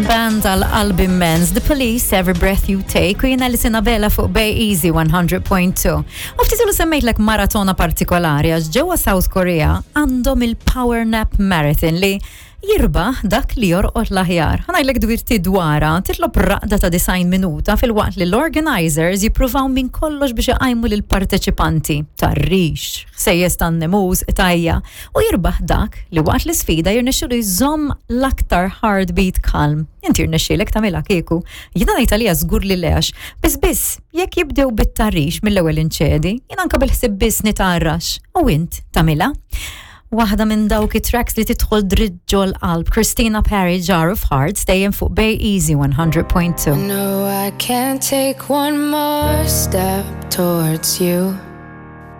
Band għal qalb immens, The Police, Every Breath You Take, u jiena li Sinabela fuq Bay Easy 100.2. U ftit ilu semmejtlek maratona partikolari għax ġewwa South Korea għandhom il-Power Nap Marathon li jirbaħ dak li jorqod l-aħjar. Ħa ngħidlek dwirti dwarha, titlob raqda ta' 90 minuta filwaqt li l-organizers jippruvaw minn kollox biex iqajmu lill-parteċipanti. Tarrix, ħsejjes tan-nemus, qtajja, u jirbaħ dak li waqt l-isfida jirnexxilu jżomm l-aktar heartbeat kalm. Inti jirnexxielek tagħmilha kieku. Jiena ngħid għalija żgur li le għax biss biss jekk jibdew bit-tarrix mill-ewwel inċedi, jien anke bil-ħsieb biss nitgħarrax. U int tagħmilha? Waħda minn dawk it-tracks li tidħol dritt ġol-qalb, Christina Perri, Jar of Hearts, dejjem fuq Bay Easy 100.2. No, I can't take one more step towards you.